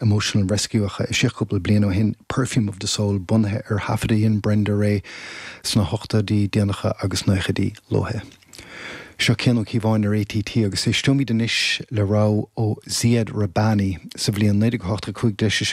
Emotional Rescue a eisíodh cúpla bliain ó shin, Perfume of the Soul, bunaithe ar thaifead a dhein Brenda Ray sna hochtóidí déanacha agus naochaidí luatha. Seo Cian Ó Cíobháin ar ATT agus éisteoimid anois le rogha ó Ziad Rahbani sa bhliain 1985 d'eisigh sé.